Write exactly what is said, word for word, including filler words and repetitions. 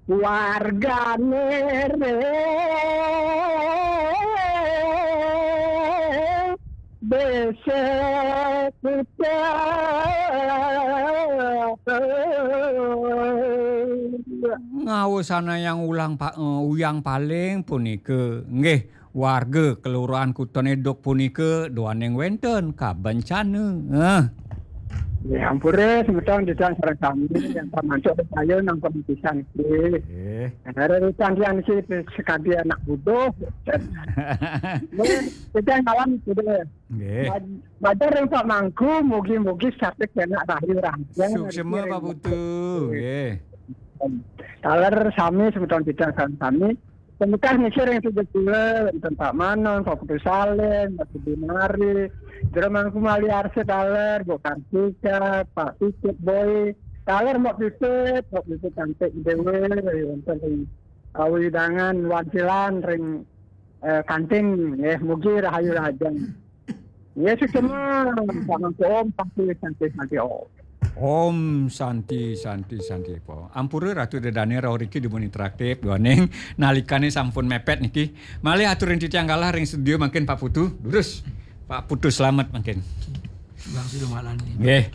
Wargane reng desa Kuta. Ngawusanayang ulang pa-, eh, uyang paling punika. Nggih, warga Kelurahan Kuta Neduk punika duaning wenten kabencana. Eh. Ya, ampura semeton titiang sareng sami yang termasuk saya nang pemutisan niki. Nggih. Ada rekan yang niki sekadi anak buduh. Nggih, titiang salam sudah. Nggih. Bad-, badar yang Pak Mangku, mugi-mugi sakit kena rahayu rahayu. Suksma, Pak Putu. Nggih. Taler sami semeton titiang sareng sami. Pemekah niki ring tiga kula, wenten Pak Manon, Pak Putu Salim, Pak Budi Mari, Jero Mangku Mali Arsa taler, Bu Kartika, Pak Pipit Boy, taler Mbok Pipit, Mbok Pipit cantik dewe, wenten ring, eh, wewidangan Wancilan ring, eh, kantin, nggih, mugi rahayu rahajeng. Nggih, suksma, Pak Mangku, Om, Santi, Santi, Santi, Om. Om Santi, Santi, Santi, Om. Ampura Ratu Ida Dane rauh riki dumun interaktif, duaning nalikane sampun mepet niki. Malih atur ring titiang galah ring studio mangkin Pak Putu, durus. Pak Putu Slamet mangkin. Bang Sido Malani. Nggih.